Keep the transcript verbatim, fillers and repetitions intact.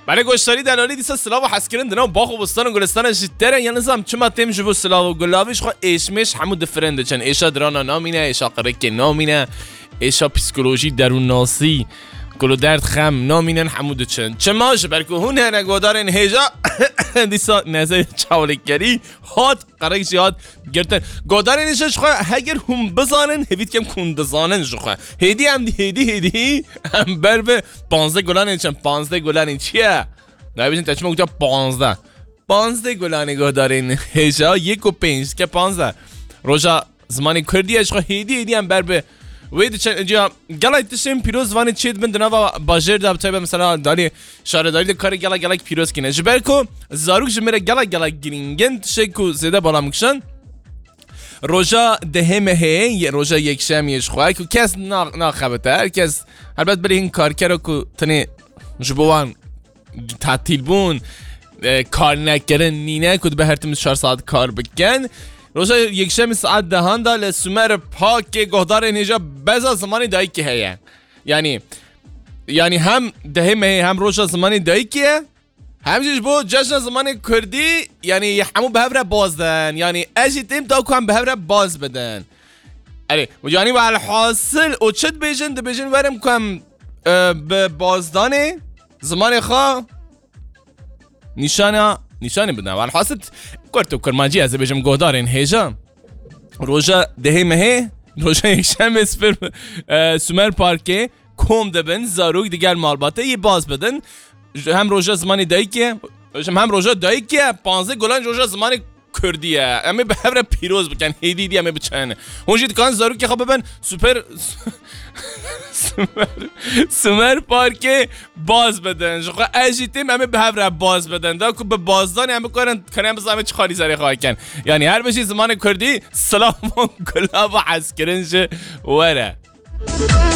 Belê goştarî delalî dîsa silav û hezkirin di nav bax û bostan û gulistana ji te re ya nizam çima têm ji bo silav û gulavî ji xwe êşmêş hemû difirin diçin. Êşa dirana namîne, êşa qirikê namîne, êşa psîkolojî, derûnnasî, kulûderd, xem namînin hemû diçin. Çima? Ji ber ku hûn hene godarên hêja dîsa neze çawlikkerî hat, qerik jî hat girtin. Godarên hêja ji xwe heger hûn bizanin, hêvî dikim ku hûn dizanin ji xwe. Hêdî em hêdî hêdî em ber bi panzdeh gulanên çend, panzdeh gulanên çi ye? Nabêjin te çima gotiya panzdeh. Panzdeh gulanê guhdarên hêja yek û pênc ke panzdeh. Roja zimanê kurdî ye ji xwe hêdî hêdî em ber bi wê diçe. Ciya gelek tiştên pîroz zimanê çê dibin di nava bajêr de, bi taybet mesela dalê şaredarî de karê gelek gelek pîroz kîne. Ji ber ku zarok ji min re gelek gelek girîng in, tiştek ku zêde bala min kişand. Roja dehê mehê, ye-, roja yekşemiyê ji xwe ku kes na-, naxebite, her kes helbet bilê hin karkera ku tenê ji bo wan tatîl bûn, e, kar nekirin nîne ku dibe her tim çar saet kar bikin. Roja yekşemî saet dehan de li Sumer Pakê guhdarên hêja beza zimanê dayikê heye. Yanî, yanî hem dehê mehê hem roja zimanê dayikê ye, hem jî ji bo cejna zimanê kurdî, yanî hemû bi hev re baz din. Yanî ez jî têm da ku em bi hev re baz bidin. Erê, yanî welhasil û çi dibêjin? Dibêjin werim ku em, e, bi bazdanê zimanê xwe nîşana, nîşanê bidin. Welhasil kurt û kurmancî ez dibêjim guhdarên hêja. Roja dehê mehê, roja yekşemê Sumer, e, Sumer Parkê kom dibin, zarok digel malbatê yê baz bidin. Hem roja zimanê dayikê, hem roja dayikê, panzdeh gulan roja zimanê kurdî ye. Em ê bi hev re pîroz bikin, hêdî hêdî em ê biçin. Hûn jî dikarin zarokê xwe bibin Sumer, Sumer, Sumer Parkê baz bidin. Ji xwe ez jî têm em ê bi hev re baz bidin. Da ku bi bazdanê em bikarin, karin em bizanin çi xalî serê xwe kin. Yanî her bijî zimanê kurdî, silav û gulav û hezkirin ji we re.